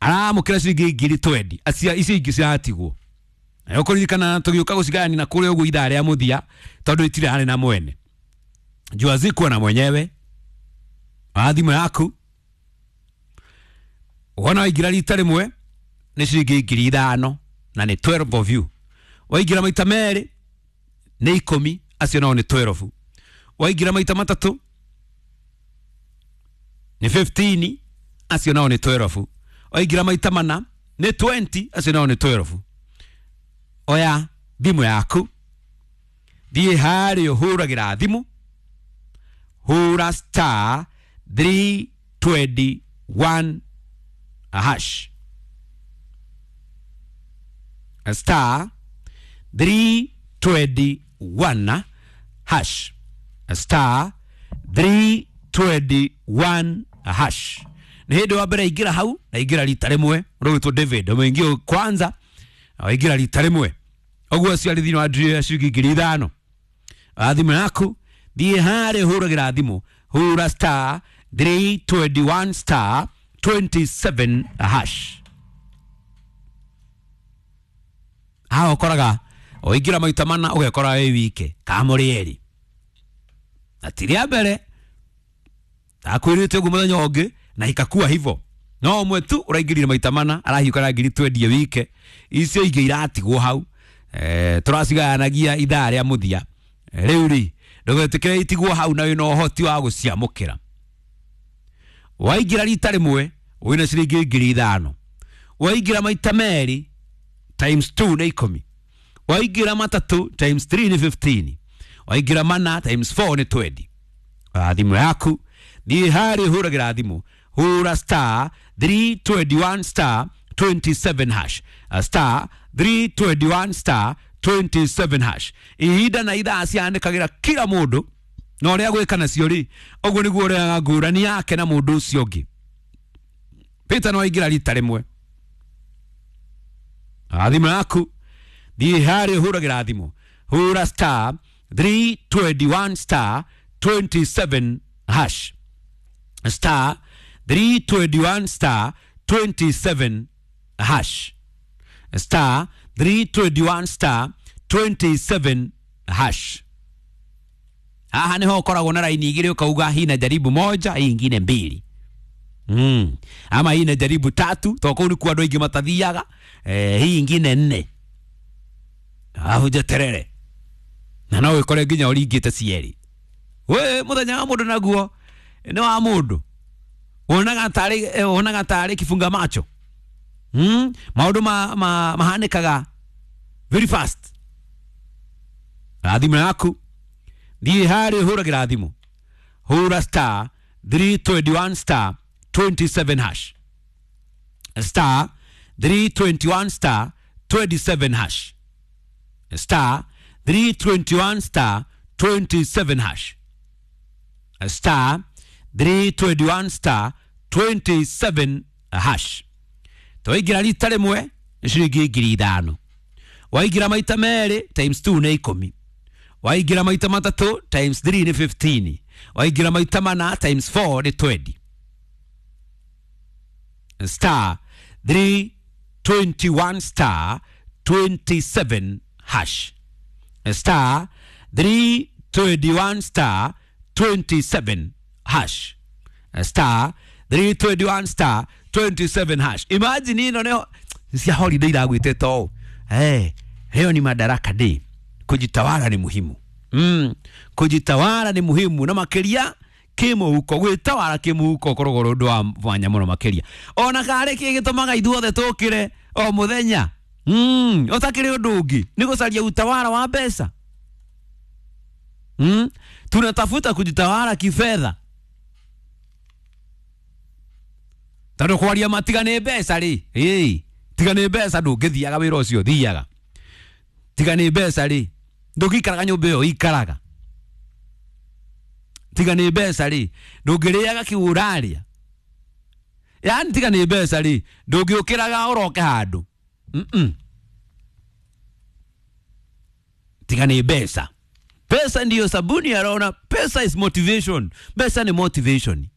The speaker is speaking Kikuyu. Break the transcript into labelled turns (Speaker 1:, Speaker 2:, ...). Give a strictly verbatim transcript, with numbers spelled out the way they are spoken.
Speaker 1: Aramũkĩra ciringi ngiri twendi acia icio ingĩ ciratigwo. Na ũkũririkana tũgĩũka gũcigayania na kũrĩa ũguo ithaa rĩa mũthia tondũ itirĩ harĩ na mwene. Jua zikuwa na mwenyewe. Wa thimũ yaku wona waingĩra rita rĩmwe nĩ ciringi ngiri ithano na nĩ twelve of you. Waingĩra maita merĩ nĩ ikũmi, acio nao nĩ twelve. Waingĩra maita matatũ nĩ fifteen, acio nao nĩ twelve. Waingĩra maita mana nĩ twenty, acio nao nĩ twelve. Oya thimũ yaku thiĩ harĩa ũhũragĩra thimũ, hũra star three twenty one hash, star three twenty one hash, star three twenty one hash. Nĩ hĩndĩ wa mbere ingĩra hau na ingĩra rita rĩmwe ũrũgĩtwo David ũmũingĩ kwanza waingĩra rita rĩmwe ũguo acio arĩ thĩinĩ wa ndiri ciringi ngiri ithano. Thimũ yaku thiĩ harĩa ũhũragĩra thimũ, hũra star three twenty one star twenty seven hash. Haha ũkoraga waingĩra maita mana ũgekora wĩ wike kamũrĩ erĩ na ti rĩa mbere ndakwĩrĩte ũguo mũthenya ũngĩ na ikakua hivyo. No ũmwe tu ũraingĩrire maita mana arahiũka na ngiri twendie wike icio ingĩ iratigwo hau. Eh, tũracigayanagia ithaa rĩa mũthia. Rĩu rĩ ndũgetĩkĩre itigwo hau na wĩna ũhoti wa gũciamũkĩra. Waingĩra rita rĩmwe wĩna ciringi ngiri ithano, waingĩra maita merĩ times two nĩ ikũmi, waingĩra matatũ times three nĩ fifteen, waingĩra mana times four nĩ twenty. Thimũ yaku thiĩ harĩa ũhũragĩra thimũ, hũra star three twenty one star twenty seven hash, star three twenty one star twenty seven hash. Ihinda na ithaa cianĩkagĩra kila mũndũ na ũrĩa gwĩka nacio rĩ ũguo nĩguo ũrĩaga ngũrani yake na mũndũ ũcio ũngĩ. Peter no aingĩra rita rĩmwe. Thimũ yaku thiĩ harĩa ũhũragĩra thimũ, hũra star three twenty one star twenty seven hash, star three twenty one star twenty seven hash, star three twenty one star twenty seven hash. Haha niho ũkoragwo na raini igĩrĩ ũkauga hii na jaribu moja, hii ingine mbili. Mm. Ama hii na jaribu tatu, to kũu nĩkuo andũ aingĩ matathiaga, eh, hii ingine nne. Alafu njeterere. Na no wĩkore nginya ũringĩte cierĩ. We mũthenya wa mũndũ naguo nĩ wa mũndũ. Wonaga tarĩ wonaga tarĩ kifunga macho. Mm. Maũndũ ma, ma, mahanĩkaga very fast. Thimũ yaku thiĩ harĩa ũhũragĩra thimũ, hũra star three twenty one star twenty seven hash, star three twenty one star twenty seven hash, star three twenty one star twenty seven hash, star three twenty one star twenty seven hash. Twaingĩra rita rĩmwe nĩ ciringi ngiri ithano, waingĩra maita merĩ times two nĩ ikũmi, waingĩra maita matatũ times three nĩ fifteen, waingĩra maita mana times four nĩ twenty. Star three twenty one star twenty seven hash, star three twenty one star twenty seven hash, star three twenty one star twenty seven hash. Imagine ino nĩho cia holiday iragwĩte to eh, hiyo ni Madaraka Day. Kujitawala ni muhimu. Mm. Kujitawala ni muhimu na makiria kimuhuko, gwitawala kimuhuko ũkoragwo ũrĩ ũndũ wa mwanya mũno makĩria. Ona karĩ kĩ gĩtũmaga ithuothe tũkĩre o mũthenya mm, ũtakĩrĩ ũndũ ũngĩ nĩ gũcaria utawala wa mbeca. Mm. Tunatafuta kujitawala kifedha. Tondũ kwaria matiga nĩ mbeca rĩ, ĩĩ tiga nĩ mbeca ndũngĩthiaga wĩra ũcio thiaga. Tiga nĩ mbeca rĩ ndũngĩikaraga nyũmba ĩyo ikaraga. Tiga nĩ mbeca rĩ ndũngĩrĩaga kĩu ũrarĩa. Yaani tiga nĩ mbeca rĩ ndũngĩũkĩraga ũroke handũ. Mm-mm. Tiga nĩ mbeca. Pesa ndiyo sabuni ya roho na pesa is motivation. Pesa ni motivation.